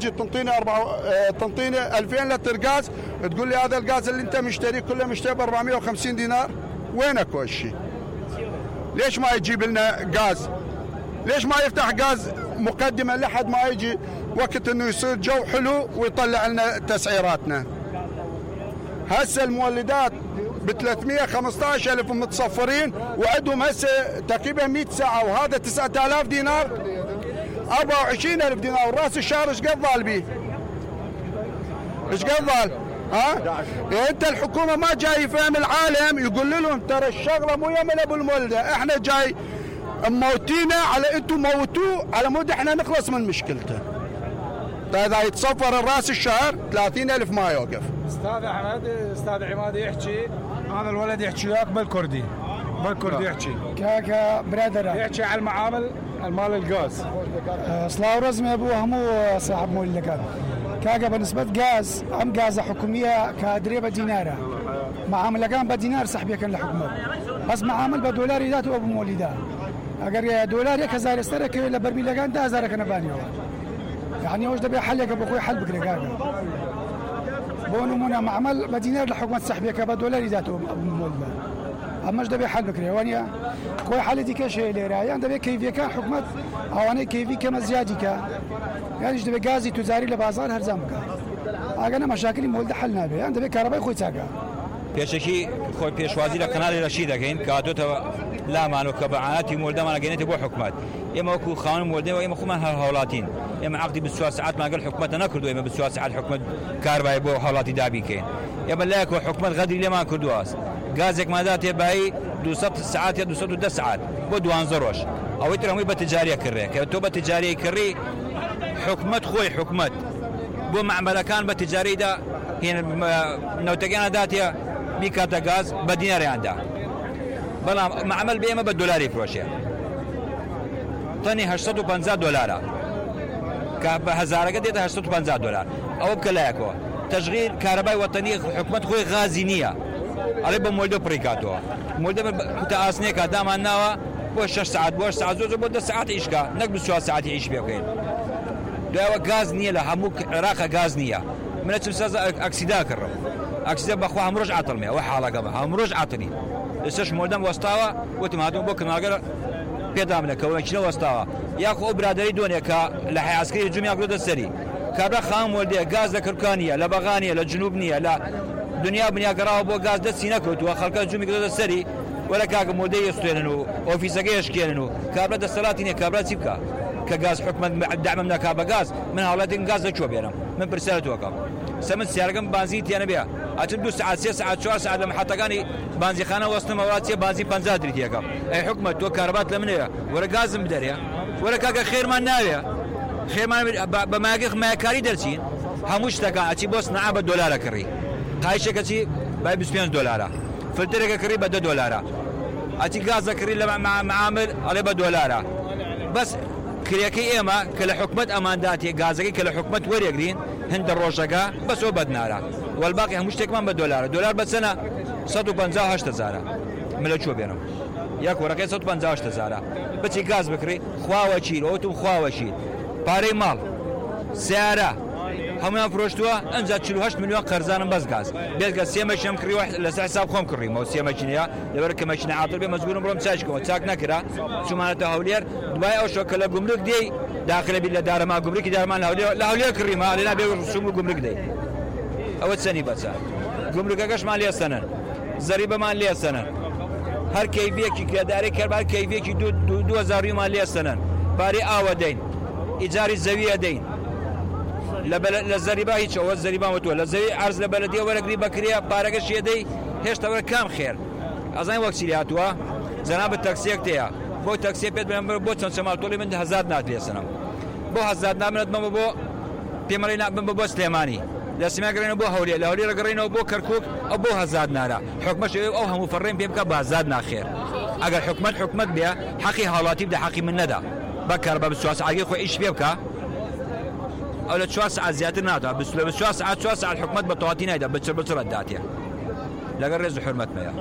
تجي تنطيني 2000 لتر غاز، تقول لي هذا الغاز اللي انت مشتريه كله مشتري ب 450 دينار. وينك هالشيء؟ ليش ما يجيب لنا غاز؟ ليش ما يفتح غاز مقدمه لحد ما يجي وقت انه يصير جو حلو ويطلع لنا تسعيراتنا؟ هسه المولدات ب 315,000 متصفرين وعندهم هسه تقريبا 100 ساعه، وهذا 9000 دينار 24,000 دينار. وراس الشهر ايش قد ظال بيه؟ ايش قد ظال؟ انت الحكومه ما جاي يفهم العالم، يقول لهم ترى الشغله مو يم ابو المولده، احنا جاي موتينا على انتم موتوه على مود احنا نخلص من مشكلته. طيب اذا يتصفر الراس الشهر 30,000 ما يوقف. استاذ احمد، استاذ عماد يحكي، هذا الولد يحكي وياك بالكردي يحكي كاكا برادر يحكي على المعامل المال الغاز. صلاح ورزمي ابوه مو صاحب مولد كاكا بالنسبه غاز ام غاز حكوميه كادري بديناره معامله كان بدينار سحبيه كان الحكومه، بس معامل بدولار ذاته ابو مولده. اگر دولار 1000 استرك لبرميل كان 1000 كان بانيو، يعني وش دبي حل يا ابو اخوي حل بكره كاكا بونو منا معمل بدينار الحكومه السحبيه كبدولار ذاته ابو مولده. اما ايش دبي حل بكره وانيا خوي حل دي كشي اللي راي عند دبي كيفيه كان حكومه او انا كيفي كما زيادك، يعني ايش دبي غازي تجاري لبازار هرزامك انا مشاكل مولده حلنا به عند دبي كهرباء خوي تاكا پێشەکی خۆی پێشوازی لە کەناڵی ڕەشی دەکەین کاتۆتەوە لامان و کە بەعانەتی مولدەمان گەێنێتە بۆ حکومەت. ئێمە وەکو خاوەن مولدەوە ئێمە خۆمان هەر هاوڵاتین، ئێمە عەقدی 24 ساعتمان لەگەڵ حکومەتە نەکردو، ئێمە 24 ساعت حکومەت کاربای بۆ هاوڵاتی دابی کەین. ئێمە لایەکەوە حکومەت غەدری لێمان کردووە، گازێکماندا تێبایی 200 ساعت یا 210 ساعت بۆ 12 ڕۆژ. ئەوەی تر هەمووی بە تجاریە کڕێ، کە تۆ بە تجاریە کڕی حکومەت خۆی حکومەت بۆ معمەلەکان بە تجاریدا هێن نەوتەکانە داتێ بیکاتە گاز بە دیناریاندا، بەڵام معمەل بێمە بە دۆلاری فرۆشێ. تەنی 850 دۆلارە کە بە هەزارەکە دێتە 850 دۆلار. ئەوە بکە لایەکەوە تەشغیل کارەبای وەتەنی حکومەت خۆی غازی نییە، ئەڵێ بە مولدە پڕی کاتەوە. مولدە کوتە ئاسنێکە دامان ناوە بۆ 6 ساعت بۆ 8 ساعت زۆر بۆ 10 ساعت ئیشکە، نەک 24 ساعتی ئیش پێ بکەین. دوایەوە گاز نییە لە هەموو عێراقە گاز نییە. منە چم ساز ئەکسیدا کڕم، ئەکسیدا بەخوا هەمڕۆژ عاتڵمێ، ئەوە حاڵەکەمە هەمڕۆژ عاتڵی. لەسەرش مولدەم وەستاوە وتم هاتووم بۆ کەناڵگەر پێدام لە کەوەکینە وەستاوە یاخۆ ئەو برادەری دۆنێ کە لە حەی عەسکەری هجوومیان کردۆتە سەری کابرا خام مولدەیە گاز لە کورکانیە لە بەغانیە لە جنوب نییە لە دنیا بنیا گەڕاوە بۆ گاز دەستی نەکەوتووە، خەڵکە هجوومی کردۆتە سەری وەرە کاکە مولدەی ئێستێنن و ئۆفیسەکەی ئەشکێنن و کابرا دەسەڵاتی نییە. کابرا چی بکە کە گاز حکومەت دعمم ناکا بە گاز؟ من هاوڵاتێک گاز لەکوێ بێنم؟ من پرسیارەتەوەکەم سەمن سیارەکەم بانزی تێنە بێ ئەچم 2 ساعت 3 ساعت 4 ساعت لە محەتەکانی بانزیخانە وەستنەوە وڵات چێ بانزی 50 دریتیەکەم. ئەی حکومەت تۆ کارەبات لە منەیە وەرە گازم بدەرێ، وەرە کاکە خێرمان ناوێ، خێرمان بە ماگەخ مایەکاری دەرچین هەموو شتەکە ئەچی بۆ سنعا بە دۆلارە کڕی، قایشێکە چی بای 25 دۆلارە، فلترێکە کڕی بە 10 دۆلارە، ئەچی گازە کڕی لە معامل ئەڵێ بە دۆلارە. بەس کرێکەی ئێمە کە لە حکومەت ئەمانداتێ گازەکەی کە لە حکومەت وەرێگرین هەندە ڕۆژەکە بەسەوە بەدنارە، وەڵباقی هەموو شتێکمان بە دۆلارە. دۆلار بەچەنە 158,000 من لە چۆ بێنم یاک وەرەکەی 158,000 بچی گاز بکڕی خواوە چیر ئەوتم خواوە چیر پارەی ماڵ سیارە هەمویان فرۆشتووە ئەنجا 48 ملیۆن قەرزانم بەس گاز بێگە سێمەشم کڕیوە لەسەر حساب خۆم کڕیمەوە سێمەچینەیە لەبەر کە مەچینە عاتڵ بێ مەجبورم بڕۆم چاچکەوە چاک نەکرا چوومانەتە هەولێر دوای ئەو شۆ کە لە گومرک دێی داخلە بی لە دارەما گومرکی دارمان لە هەولێر کڕیمە لێنا بێ ڕسوم و گومرک دەی ئەوە چەنی بەچە گومرکەکەشمان لێسەنن زەریبەمان لێسەنن هەر کەیفێکی کرێداری کەربار کەیفێکی 2000 ریمان لێسەنن پارەی ئاوە دەین ئیجاری زەویە دەین لە زەریبا هیچ ئەوە زەریبان وتووە لە زەوی عەرز لە بەلەدیە وەرەگری بەکرێ پارەکە شێدەی هێشتا وەرە کام خێر ئەزانین وەک چی هاتووە جەنابەت تەکسیەک تەیە بۆ تەکسیە پێت بێن بۆ چەند چەماڵتۆڵی من 1000 نات لێسەنم بۆ 1000 نامنێت بمە بۆ پێمەڵی نابم بۆ سلێمانی لە سمێگەڕێنەوە بۆ هەولێر لە هەولێر ڕگەڕێنەوە بۆ کەرکووک ئەو بۆ 1000 نارە حکومەش ئەو هەموو فەڕێم پێ بکە بە 1000 ناخێر ئەگەر حکومەت بێ حەقی هاوڵاتی بدە حەقی من نەدا بەکار بە 24 ساعت خۆی ئیش پێ بکە ئەو لە 4 ساعت زیاتر ناتوە 4 ساعت حکومەت بە تەواتی نایدا بچڕ داتێ لەگەڵ ڕێز و حورمەتمەیە.